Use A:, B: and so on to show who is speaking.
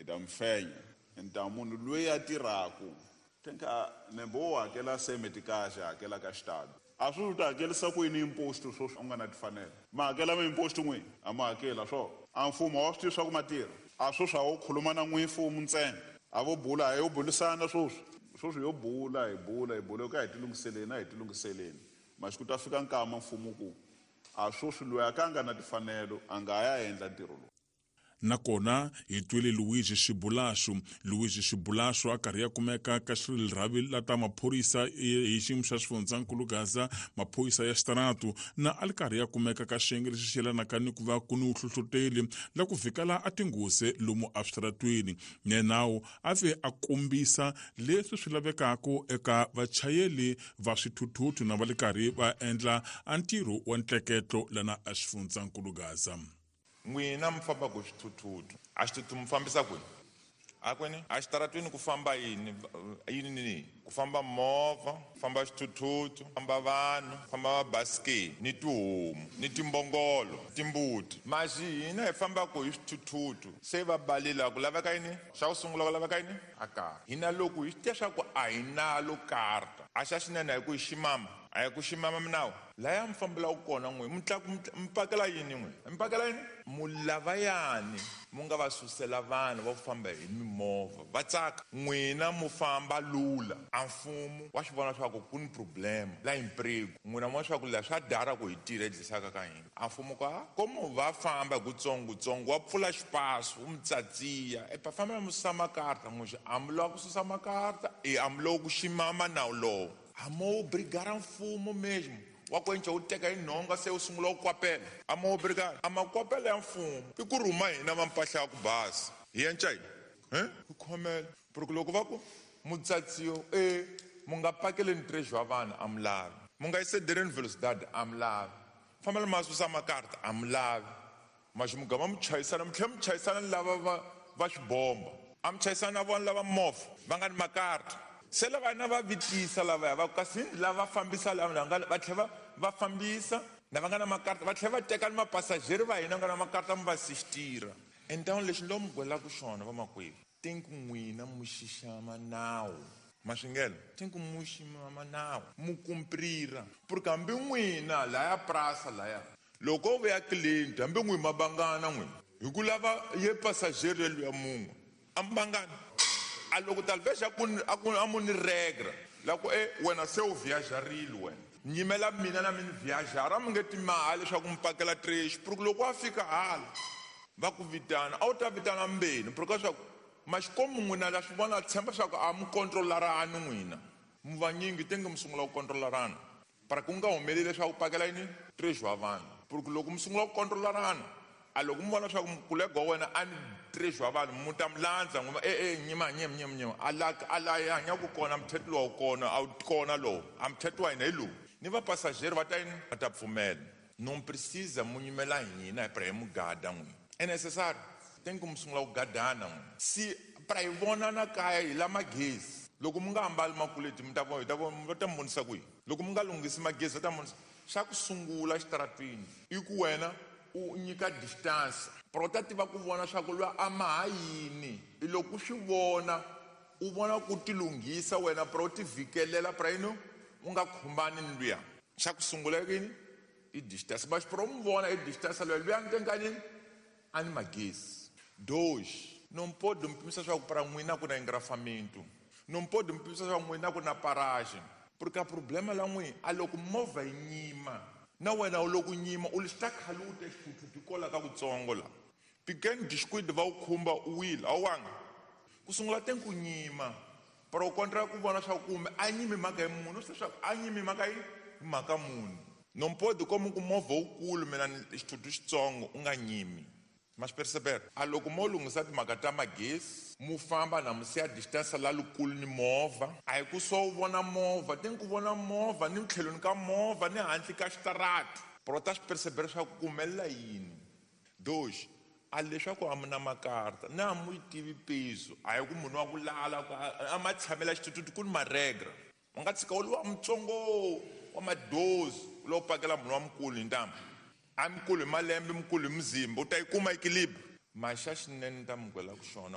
A: Hi ta mi fenya. Ni munhu loyi a tirhaku tenka nembe wo hakela semetikaxe hakela ka xitalo a swi u ta hakelisa ku yini imposto sweswi u nga na timfanelo ma hakela ma-imposto n'wini a ma hakela swo a mfumo wa swi tivi swa ku ma tirha a sweswi a wo khuluma na n'wi mfumo ntsena a vo bula a yo bulisana sweswi sweswi yo bula hi bula hi bula ka hi tilunghiseleni a hi tilunghiseleni masiku ta fika nkama mfumo ku a sweswi loyi a ka a nga na timfanelo a nga ya endla ntirho lowu.
B: Nakona hi twile Luigi Xibulaxu. Luigi Xibulaxu a karhi ya kumeka ka xirhavi la ta maphorisa hi xiyimo xa xifundzankulu Gaza, maphorisa ya xitaratu, na a li karhi ya kumeka ka xiyenge lexi xi yelanaka ni ku va ku ni vuhlohloteli la ku vhikela a tinghozi lomu eswitaratweni. Nenawu a ve a kombisa leswi swi lavekaka eka vachayeli va swithuthuthu na va le karhi va endla a ntirho wa ntleketlo lana exifundzankulu Gaza.
C: N'wina mi fambaka hi swithuthuthu, a xithuthuthu mi fambisa kwini? A kwini? A xitaratwini ku famba yini yini ni yini? Ku famba movha, ku famba xithuthuthu, ku famba vanhu, ku famba mabasikeni ni tihomu ni timbongolo, timbuti. Maxi hina hi fambaka hi swithuthuthu se va balile ku laveka yini? Xa ku sungula ku laveka yini? A karta. Hina loko hi swi tiva swa ku a hi nalo karta, a xa xinene a hi ku hi ximama, a hi ku ximama minawu. Laya mi fambelaka kona n'we mi mi pakela yini n'we mi pakela yini? Mu lavayani mu nga va susela vanhu va ku famba hi mimovha va tsaka. N'wina mu famba lula a mfumo wa swi vona swa ku ku ni problema la emprego. N'wina mu vona swa ku la swa dara ku hi tirha hi dlisaka ka hina. A mfumo ku a komu va famba hi kutsongotsongo wa pfula xipaso wu mi tsatsiya epa famba mi susa makarta n'we a mi lava ku susa makarta e a mi lava ku ximama nawu lowo. A mo obrigara mfumo mesmo wa ku enca wu teka hi nhonga se wu sungula ku kwapela. A mo obrigara a makwapela ya mfumo i ku rhuma hina va mpahla ya ku basa hi enca yini hi khomela porque loko va ku mutsatsiyo e mu nga pakeleni trejo wa vanhu a mi lavi, mu nga excedereni velocidade a mi lavi, fambela ma susa makarta a mi lavi, maxi mugama mi chayisana mi tlhela mi chayisana ni lava va va xibomba, a mi chayisana na vona lava movha va nga ni makarta. Se lava na va vitisa lavaya va ku kasi lava fambisa lava nga va tlhela va fambisa na va nga na makarta va tlhela va teka ni mapasajeri va hina nga na makarta mi va sistira. Então lexi ni lo mi gwelaka xona vamakwerhu, tinku n'wina mu xixama nawu. Maswingelo tinku mu xixama nawu mu kumprira porque hambi n'wina laya prasa laya loko u vuya client hambi n'wi mabangana n'wina hi ku lava ye passager luya mun'we a mi bangani. A loko talvez a ku a ku a mu ni regra la ku e wena se u viajarile wena nyimela mina na mi ni viajara mi nge timali leswaku mi pakela trecho porque loko wa fika hala va ku vitana a wu ta vitana mbeni porque swa ku maxikomu n'wina la swi vona tshemba swa ku a mi kontrolarani n'wina mi vanyingi tenge mi sungula ku kontrolarana para ku nga humeleli leswaku pakela yini trecho wa vanhu porque loko mi sungula ku kontrolarana a loko mi vona leswaku mukulega wa wena a ni trecho wa vanhu mu ta mi landza n'wi e e nyima nyima nyima nyima a la a la hi hanyaka kona muthetho lowu kona a wu kona lowu a muthetho wa hina hi lowu ni vapasajeri va ta yini va ta pfumela. Non precisa mu nyimela hina hi pra hi mu gada n'wina é necessário tem ku mi sungula ku gadana n'wina si pra hi vonana kaya hi la magezi loko mi nga ambali makuleti mi ta vona hi ta vona va ta mi vonisa ku yini loko mi nga lunghisi magezi va ta mi vonisa. Xa ku sungula xitaratwini i ku wena u nyika distance pra u ta tiva ku vona swa ku lwa a ma ha yini i loko u swi vona u vona ku ti lunghisa wena pra u ti vhikelela pra yini u nga khumbani ni luya. Xa ku sungula i yini i distance mas pra u mi vona i distance luya luya ni tenkani a ni magezi. Dois, não pode me pimisa swa ku para n'wina ku na engrafamento, não pode me pimisa swa ku n'wina ku na paragem porque a problema la n'wina a loko movha yi nyima na wena u loko nyima u li ta khaluta xithuthuthu kola ka kutsongo la pequeno descuido va wu khumba u wile a wu wanga ku sungula te ku nyima para u kontra ku vona swa kumbe a nyimi mhaka hi munhu swi swa a nyimi mhaka hi mhaka munhu. Non pode como ku movha wukulu mina xithuthuthu xitsongo u nga nyimi. Ma swi perceber a loko mo lunghisa timhaka ta magezi mu famba na mu siya distance la lukulu ni movha a hi ku so u vona movha te ku vona movha ni tlhelweni ka movha ni handle ka xitarati para u ta swi perceber swa ku humelela yini. Dois, a leswaku a mi na makarta na a mu yi tivi peso a hi ku munhu wa ku lala ku a ma tshamela xithuthuthu ku ni maregra u nga tshika u ri wa mutsongo wa madozi u lo pakela munhu wa mukulu hi ntambu a mukulu hi malembe mukulu hi muzimba u ta yi kuma equilibre. Maxa xinene ni ta mi gwela ku xona.